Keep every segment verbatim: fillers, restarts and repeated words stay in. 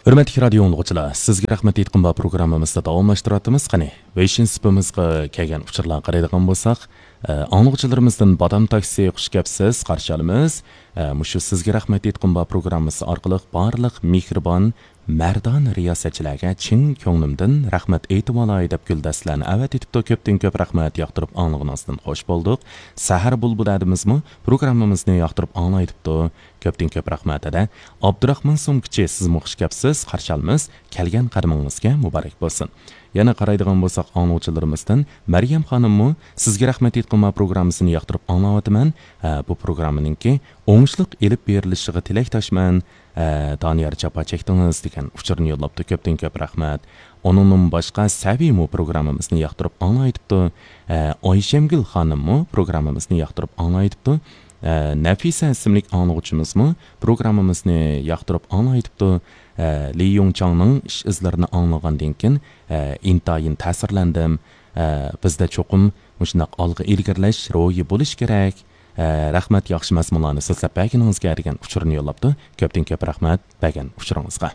ھۆرمەتلىك رادىيو ئاڭلىغۇچىلار، سىزگە رەھمەت ئېيتقۇم بار پروگراممىمىزنى داۋاملاشتۇرۇۋاتىمىز. قېنى، ۋېيشىن سېپىمىزغا كەلگەن ئۇچۇرلارغا قارايدىغان بولساق، ئە، ئاڭلىغۇچىلىرىمىزدىن بادام تاكسى، خۇش كەپسىز، قارشى ئالىمىز. ئە، مۇشۇ سىزگە رەھمەت ئېيتقۇم بار پروگراممىسى ئارقىلىق بارلىق مېھرىبان، مەردانە رىياسەتچىلەرگە چىن كۆڭلۈمدىن رەھمەت ئېيتىۋالاي دەپ گۈلدەستىلەرنى ئەۋەتىۋېتىپتۇ. كۆپتىن كۆپ رەھمەت، ياقتۇرۇپ ئاڭلىغىنىڭىزدىن خوش بولدۇق. سەھەر بۇلبۇلى ئادىمىزمۇ پروگراممىمىزنى ياقتۇرۇپ ئاڭلايتىپتۇ. كۆپتىن كۆپ رەھمەت ھەدە. ئابدۇراخمان سومكىچى، سىزمۇ خۇش كەپسىز، قارشى ئالىمىز، كەلگەن قەدىمىڭىزگە مۇبارەك بولسۇن. يەنە قارايدىغان بولساق، ئاڭلىغۇچىلىرىمىزدىن مەريەم خانىممۇ، سىزگە رەھمەت ئېيتقۇم بار پروگراممىسىنى ياقتۇرۇپ ئاڭلاۋاتىمەن. ھە، بۇ پروگراممىنىڭكى ئوڭۇشلۇق ئېلىپ بېرىلىشىغا تىلەكداشمەن. ھە، دانىيار جاپا چەكتىڭىز دېگەن ئۇچۇرنى يوللاپتۇ. كۆپتىن كۆپ رەھمەت. ئۇنىڭدىن باشقا سەبىيمۇ پروگراممىمىزنى ياقتۇرۇپ ئاڭلاۋېتىپتۇ. ھە، ئايشەمگۈل خانىممۇ پروگراممىمىزنى ياقتۇرۇپ ئاڭلاۋېتىپتۇ. ئە، نەفىسە ئىسىملىك ئاڭلىغۇچىمىزمۇ پروگراممىمىزنى ياقتۇرۇپ ئاڭلاۋېتىپتۇ. ئە، لى يۇڭچاڭنىڭ ئىش ئىزلىرىنى ئاڭلىغاندىن كېيىن، ئە، ئىنتايىن تەسىرلەندىم. ئە، بىزدە چوقۇم مۇشۇنداق ئالغا ئىلگىرىلەش روھى بولۇشى كېرەك. ئە، رەھمەت، ياخشى مەزمۇنلارنى سۆزلەپ بەرگىنىڭىزگە دېگەن ئۇچۇرنى يوللاپتۇ. كۆپتىن كۆپ رەھمەت بەرگەن ئۇچۇرىڭىزغا.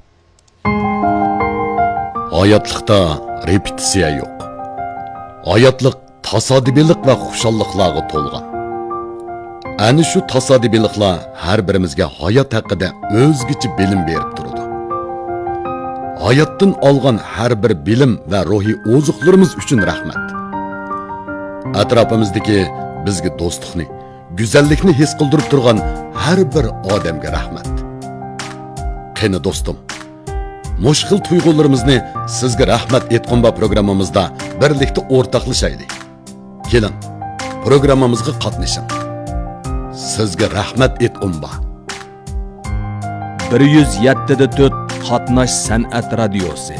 ھاياتلىقتا رېپېتىتسىيە يوق. ھاياتلىق تاسادىپىيلىق ۋە خۇشاللىقلارغا تولغان. ئەنە شۇ تاسادىپىيلىقلار ھەر بىرىمىزگە ھايات ھەققىدە ئۆزگىچە بىلىم بېرىپ تۇرىدۇ. ھاياتتىن ئالغان ھەر بىر بىلىم ۋە روھىي ئوزۇقلىرىمىز ئۈچۈن رەھمەت. ئەتراپىمىزدىكى بىزگە دوستلۇقنى، گۈزەللىكنى ھېس قىلدۇرۇپ تۇرغان ھەر بىر ئادەمگە رەھمەت. قېنى دوستۇم، مۇشۇ خىل تۇيغۇلىرىمىزنى سىزگە رەھمەت ئېيتقۇم بار پروگراممىمىزدا بىرلىكتە ئورتاقلىشايلى. كېلىڭ، پروگراممىمىزغا قاتنىشىڭ. سىزگە رەھمەت ئېيتقۇم بار. بىر يۈز يەتتە دە تۆت قاتناش سەنئەت رادىيوسى.